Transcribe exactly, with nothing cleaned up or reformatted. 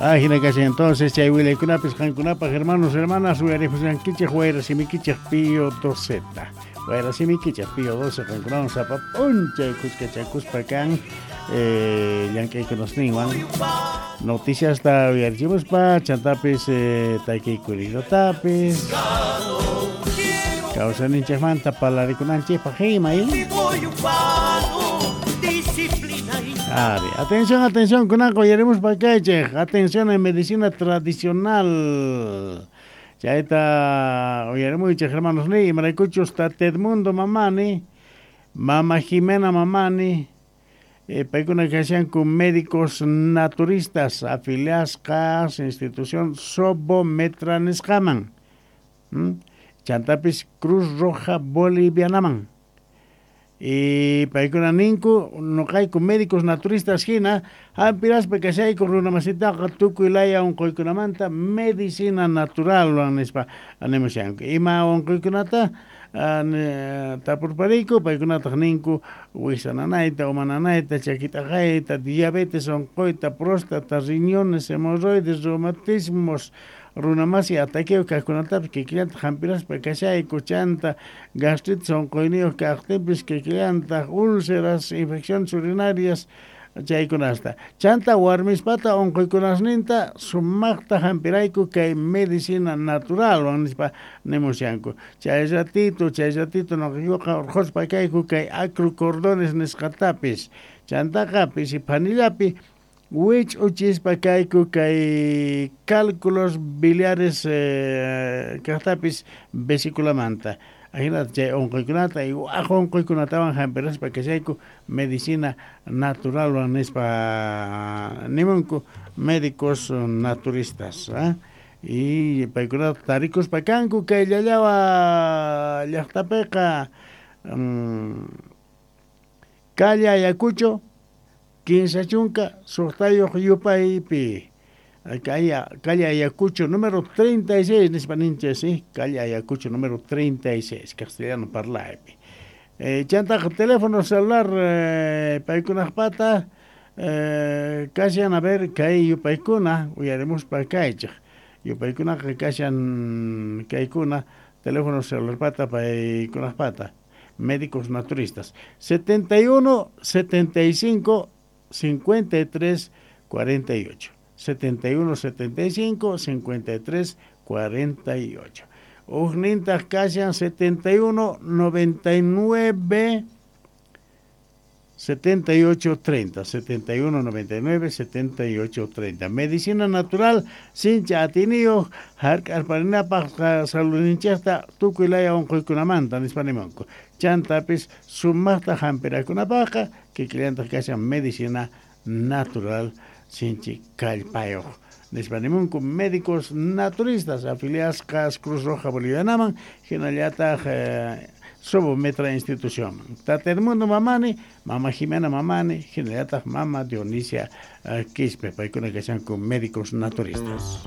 Ajina kashan entonces chay willaykunapis qankunapaq hermanos hermanas uyarimushankichik wayra simikichik Pío doceta. Wayra simikichik Pío doce qankunawan sapa p'unchay kuskachakuspa kan eh, llank'aykunasninwan noticiasta uyarichimuspa chantapis eh, takiykurinatapis kawsayninchikmanta palarikunanchikpaq ima y Ari, atención, atención, kunanqa uyarimuspa kaychik, atención en medicina tradicional. Chayta uyarimuychik hermanos ni, imaraykuchus tata Edmundo Mamani, mama Jimena Mamani, eh, paykuna kashanku médicos naturistas afiliasqas institución Sobometra nisqaman. ¿Mm? Chantapis Cruz Roja Bolivianaman. Y paykuna ninku nuqayku médicos naturistas hina hampiraspa kashayku runamasitaqa tukuy laya unquykunamanta medicina naturalwan nispa nimushanku. Ima unquykunata tapurpariyku paykunataq ninku wiksa nanayta, uma nanayta, chaki t'aqayta, diabetes unquyta, próstata, riñones, hemorroides, reumatismos, runamasi ataqueo kaqkunatapis kikillantaq hampiraspa kashayku, chanta gastritis unquyniyuq kaqtinpis kikillantaq úlceras, infecciones urinarias chaykunasta. Chanta warmispata unquykunasninta sumaqta hampirayku kay medicina naturalwan nispa nimushanku. Chay ratito, chay ratito nuqaykuqa urquspa kayku kay acrocordones nisqatapis. Chantaqa pisi phanillapi wich'uchispa kayku kay cálculos biliares eh, kaqtapis vesiculamanta. Ajinata chay unquykunata y waq unquykunatawan hampiraspa kashayku medicina naturalwan nispa nimunku médicos naturistas. ¿Eh? Y paykunata tarikuspa kanku kay llallawa llaqtapiqa um, calle Ayacucho kinsa chunka suqtayuq yupaypi. Calle, calle Ayacucho número treinta y seis, nispa ninchik, sí, calle Ayacucho número treinta y seis, castellano parlaypi. Eh, chantaqa teléfono celular eh, paykunaqpata eh, kashan a ver kay yupaykuna uyarimuspa kaychik. Yupaykunaqa kashan kaykuna teléfono celular pata paykunaqpata médicos naturistas setenta y uno, setenta y cinco, cincuenta y tres, cuarenta y ocho. setenta y uno, setenta y cinco, cincuenta y tres, cuarenta y ocho. Ujnintaq kashan setenta y uno, noventa y nueve, setenta y ocho, treinta. setenta y uno, noventa y nueve, setenta y ocho, treinta. Medicina natural, sincha atiniyuq, hark'arparinapaq saludninchikta tukuy laya unquykunamanta nispa nimunku. Chantapis sumaqta hampirakunapaqqa kikillantaq kashan medicina natural sinchi kallpayuq. Nispa nimunku médicos naturistas afiliasqas Cruz Roja Bolivianaman hinallataq eh, Sobometra institución. Tata Edmundo Mamani, Mama Jimena Mamani, hinallataq Mama Dionisia eh, Quispe, paykuna kashanku médicos naturistas.